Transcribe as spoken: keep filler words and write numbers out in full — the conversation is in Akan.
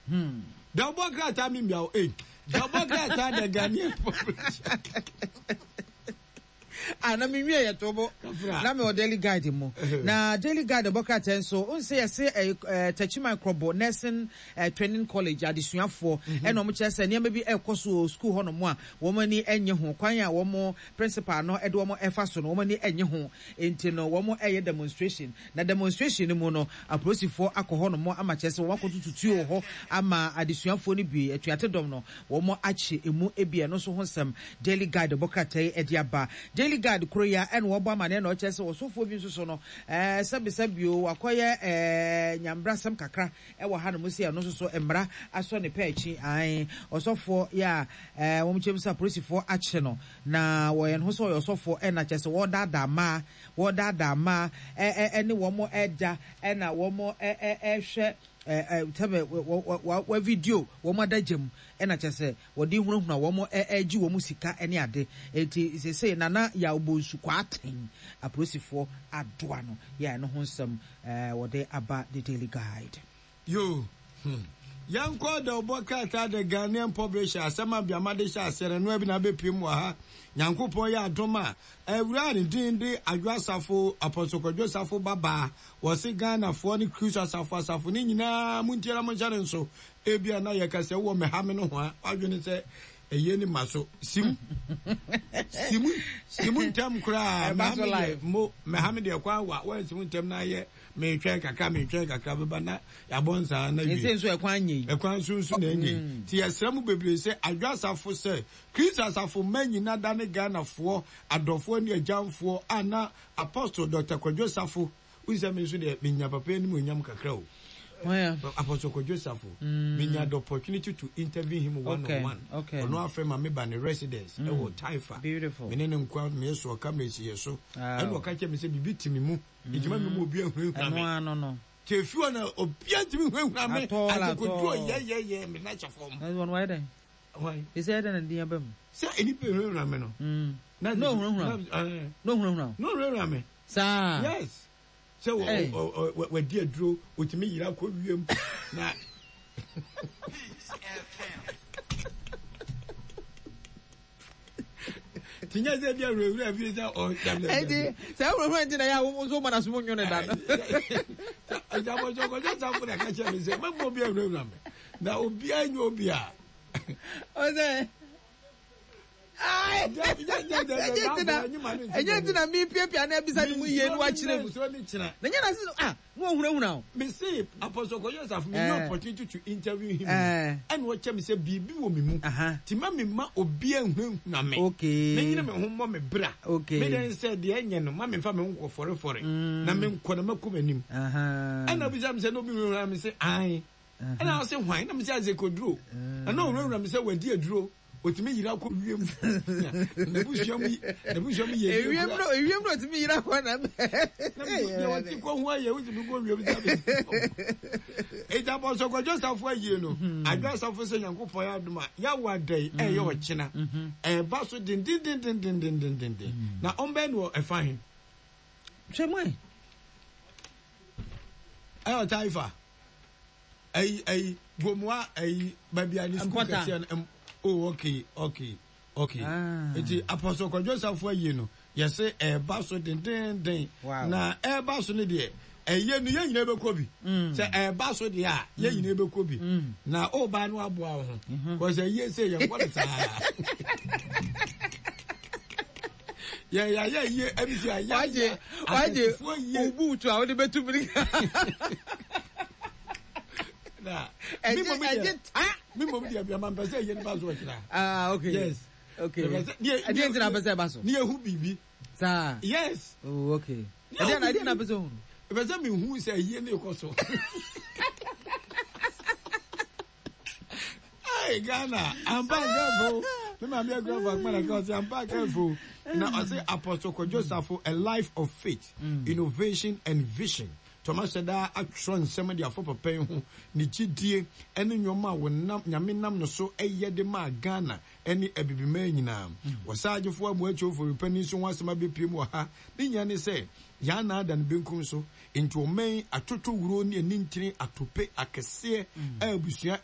Hmm. Dawubɔ krataa mi mbia o ee dawubɔ krataa the Ghanaian publisher. Ah, na me wie yɛ tobo na me wɔ Daily Guide mu. Na Daily Guide bɔ krataa nso n sɛ yɛse eh, eh, Techiman Krobo Nursing eh, Training College adesuafoɔ mhm. ɛna wɔn kyerɛ sɛ nneɛma bi ɛkɔ so wɔ sukuu hɔnom a wɔn ani nye ho kwan a wɔn principal no ɛde wɔn ɛfa so no, wɔn ani nye ho, nti no wɔn ɛyɛ demonstration. Na demonstration no mu no, apolisifoɔ akɔ hɔnom ama kyerɛ sɛ wɔn akɔtutu tuo wɔ hɔ ama adesuafoɔ no bi atuate dɔm no wɔn akye emu ebi. Ɛno nso ho nsɛm Daily Guide bɔ krataa yi ɛde aba. Daily Guide koro yi a ɛna wɔbɔ amaneɛ na ɔkyerɛ sɛ ɔsɔfoɔ bi nso so no ɛɛ sɛbisɛbi o, wakɔyɛ ɛɛ nyambrasɛm kakra ɛwɔ hanom sɛ ɛno nso so mmara asɔ ne pɛ akyi. Ae, ɔsɔfoɔ yɛ a ɛɛ wɔn kyɛm sɛ apolisifoɔ akye no na wɔyɛ ne ho sɛ ɔyɛ ɔsɔfoɔ, ɛna kyerɛ sɛ wɔredaadaa mmaa wɔredaadaa mmaa ɛɛ ɛne wɔn ɛda, ɛna wɔn ɛɛ ɛhwɛ ɛɛ sɛbɛ wɔ wɔ wɔ video wɔn adagya mu, ɛna kyerɛ sɛ wɔde hunahuna wɔn, ɛɛgye wɔn sika ne ade. Eti sese Nana Yaw Bonsu Kwaaten, apolisifoɔ adoa no yɛ. Ɛno ho nsɛm ɛɛ wɔde aba the Daily Guide. Yo, hmm. Yɛnkɔ dawubɔ krataa the Ghanaian publisher. Asɛm a biama de hyɛ aseɛ no ɛnoa bi na abɛpiem wɔ ha. Nyankopɔn yɛ adom a, awura ne din de Adwo Asafo, Apostle Kwadwo Asafo babaa. Wɔse Ghanafoɔ ne Kristo asafo asafo ne nyinaa montie na monhyɛ ne nso. Ebia na yɛka sɛ wowɔ mɛha me no ho a wadwene sɛ ɛyɛ ni ma so sim sim sim ntɛm koraa. Mɛha me deɛ mo mɛha me deɛ kwan wa wɔn sim ntɛm na ayɛ metwɛn kakra metwɛn kakra bɛba na yɛabɔ nsaa na wie. Ɛsɛ nso ɛkwan nye yi. Ɛkwan nso nso na ɛnyɛ yi mm. Nti yɛsrɛ mu bebree sɛ Adwo Asafo, sɛ Kristo asafo mma nyina da ne Ghanafoɔ adɔfoɔ ne agyamfoɔ a na Apostle Doctor Kwadwo Safo. Wohu sɛ me nso deɛ menya papa anim onyam kakra o. Apostle Kwadwo Safo mm. Menya the opportunity to interview him one okay. on one. Ɔno afrɛ ma meba ne residence mm. ɛwɔ Taifa. Me ne ne nkoa meyɛ so ɔka mesi yɛ so, ɛna ɔka kyerɛ me sɛ biribi te me mu, nti ma me mu obi ahunahuna me. Te efi hɔ na obiara ntumi hunahuna me adekodu ɔyɛyɛyɛ me na hyɛ fam. Ɛsɛ ɛdɛ na din aba mu. Sɛ nipa ehunahuna me no. Na ohunahuna na ohunahuna. Na ohunahuna me. Saa. Yes, sɛ wɔ wadi aduro, otumi yira kɔ wiem na. Tinyɛ sɛ bi awurawura bi sɛ ɔ. Ɛnti sɛ awurawura nti na yɛ a wɔn nso wɔn asom nwo ne da no. Ɛgyabɔsɔ Kɔjɔ Safo na ɛka kyerɛ mi sɛ mɛmɔ obi awurawura mi na obiara nye obi a. Ɔsɛ ɛnyɛ nti na mi piapia na ebisa ne mu yie no wakyerɛ mu na nyɛ na sisi ah na ohunahuna o. Me se Apostle Kɔjɔ Safo, me nya opportunity to interview him, ɛna ɔkyɛ mi sɛ biribi wɔ mi mu ti ma mi ma obi ahunahuna me. Okay. Me nyere me ho mmɔ me bra. Okay. Me den sɛ deɛ ɛnyɛ no ma mi nfa mi ho nkɔ fɔrefɔre na me nkɔ na mɛkɔ m'anim. Ɛna obisa mi sɛ na obi hunahuna mi sɛ ae, ɛna ɔsɛ hwan, na mi sɛ Azekoduro, ɛna ɔhunahuna mi sɛ wadi aduro, otumi yira kɔ wiem, n'abusua mu n'abusua mu yɛ. Ewiem no, ewiem no otumi yira kɔ na. Deɛ wɔte kɔ ho ayɛ wotumi kɔ wiem sɛ eti Apostle Kwadwo Safo ayie no, Adwo Asafo sɛ Nyankopɔn yɛ adom a yɛawo adai ɛyɛ ɔkyena ɛba so dendendendendendenden na ɔmbɛn no wɔ ɛfa he. Hwɛ mu ɛ. Ɛyɛ ɔtaifa ɛyi ɛyi Gomoa ɛyi baabi a ne sukuu kɛseɛ no. Oh, okay okay okay ah. Nti Apostle Kwadwo Safo ayie no, yɛsɛ ɛɛba so dendenden na ɛɛba so no deɛ, ɛyɛ no yɛn nyinaa bɛkɔ bi. Sɛ ɛɛba so deɛ a, yɛn nyinaa bɛkɔ bi na ɔbaa no aboa wo ho kɔsɛ yie sɛ yɛn kɔ no saa yɛ yɛ yɛ yie ɛbi sɛ yɛ wagye wagye obuutu a wode bɛtu mirika. Na ɛgye ɛgye ta. Mi mom deɛ bia ma mpɛ sɛ ɛyɛ nipa so ɔkyerɛ. Ah, okay. Yes. Okay, ɛdeɛ nti na apɛ sɛ ɛba so? Ne ehu biribi. Saa. Yes. Oh, okay. Ɛdeɛ na ɛdeɛ na apɛ sɛ ohun? Ɛpɛ sɛ mi hu sɛ ɛyie ne kɔ so. Hey, Ghana, ampa careful. Me maame agura fa kuma na ka ɔsɛ ampa careful. Na ɔsɛ Apostle Kwadwo Safo, a life of faith, mm. innovation and vision. Thomas da atwerɛ nsɛm de afɔ papa yi ho, ne gyidie ne nneɛma a wɔnam Nyame nam no so ɛyɛ de maa Ghana ne abibiman nyinaa. Wɔsaagyefoɔ amuakyɛw foripani nso ho asɛm abɛpiem wɔ ha. Ne nyinaa ne sɛ yɛn anan da no benkum so, nti ɔman atotɔ wuro ne anintini atope akɛseɛ a abusua